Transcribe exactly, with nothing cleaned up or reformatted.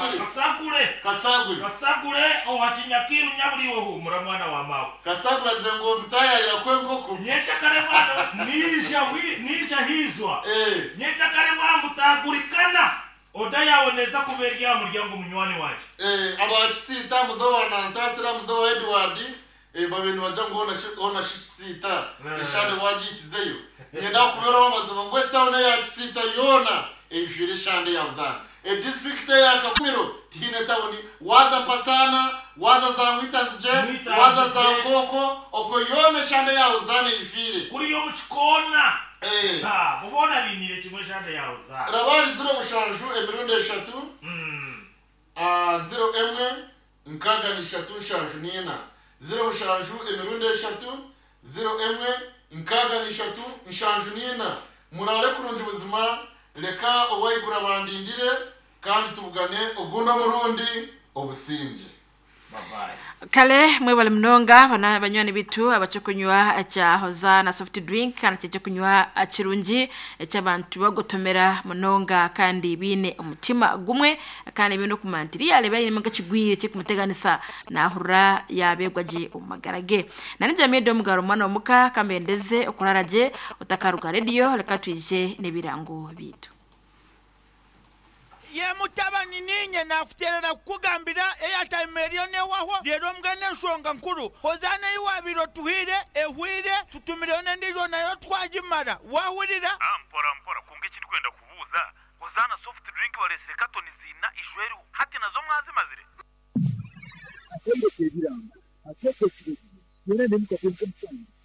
Kasagure. Kasagure. Kasagure. Kasagure owa Kinyakiru nyaburiwe humura mwana wa mawe. Kasagure aze ngo mutayayira kwenkoko. Nyecha kare mwana nisha wi nisha hizwa. Eh. Nyecha kare mwamutagurikana. Oda yawoneza kuberya muryango munywani wanje. Eh, abakisiita muzo wa Nansasira, muzo wa Edward, eh, babintu bajya ngo ona shi- ona shikisiita Eh. eshande wagikizeyo nyenda kuberaho amazima ngo etawuni ya Kisiita yoona ejwire eshande ya Buzana, edistrict ya Kakumiro tihine tawuni, waza Pasana, waza za Mwitazije, Mwitazije. waza za Nkoko, okwo yoona eshande ya Buzana ejwire. Kuri yo mukikona. Eh, Ha, mubona binire kimwe shande yawe za. rabari ziro mushanju emirundi eshatu, Mm. Ah, ziro emwe nkaga nishatu nshanju nina, ziro mushanju emirundi eshatu, ziro emwe nkaga nishatu nshanju nina. Murare kurungi buzima, reka owayigura bandindire kandi tubugane ogundi omurundi obusinge. Bye bye. Kale mwebale munonga bana banywani bitu abacokunywa ekya Hozana soft drink kandi kyekyokunywa kirungi ekyabantu bagotomera munonga kandi biine omutima gumwe kandi biine okumantiri yareba ayine nk'ekigwire kikumuteganisa nahurira yabegwa gye omu magara ge. Nani Jamido omugaro omwana omuka kambendeze okurara gye otakaruga rediyo reka twije n'ebirango bitu. Ye mutabani, ninye nakuterera kukugambira eyatime eriyo newahwa rero mbwene enshonga nkuru Hozana iwabire otuhire ehwire tutumireyo nendijo nayo twagimara wahurira. Ah, mpora mpora kunga ekindi kwenda kubuuza, Hozana soft drink baresire katoni zina ishweriho hati nazo mwazimazire? Ategeka ebirango, ategeka ekiragiro, byona nemukatenka omusango.